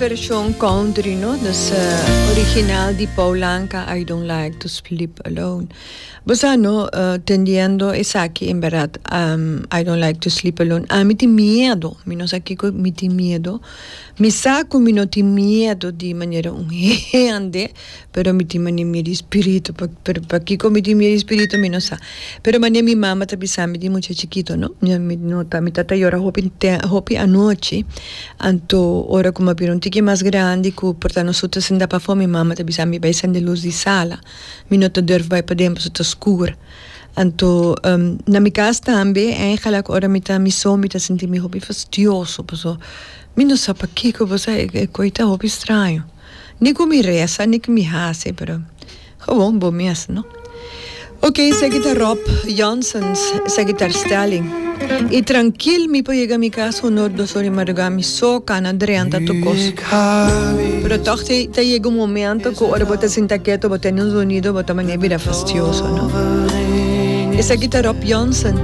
version country no, dus original di Paul Anka I don't like to sleep alone. Bo sa no, tendiendo esaki en berdad I don't like to sleep alone, ami tin miedo, mi no sa kiko mi tin miedo, mi sa ku mi no tin miedo di manera un hende, Pero mi tin mane miedo di spiritu, pero pakiko mi tin miedo di spiritu mi no sa. Pero mane mi mama ta bisa mi di mucha chikito no, mi no ta mi tata yora hopi hopi anochi, anto ora ku mi a bira un tiki mas grandi ku por ta nos tur ta sinta pafó mi mama ta bisa mi bai sende lus di sala, mi no ta durf bai paden pasobra ta skur. Anto na mi kas tambe eigenlijk ora mi ta mi so mi ta sinti mi hopi fastioso pasobra mi no sa pakiko bo sa e koi ta hopi straño. Ni ku mi resa ni ku mi hasi pero gewoon bo mes no. Ok esaki ta Rob Janssens esaki ta Stelling y trankil mi por yega mi kas honor dos ora di madruga mi so kana drenta tur kos pero tog ta yega un momento ku ora bo ta sinta keto bo tene un zonido bo ta manera bira fastioso no. Esaki ta Rob Janssen.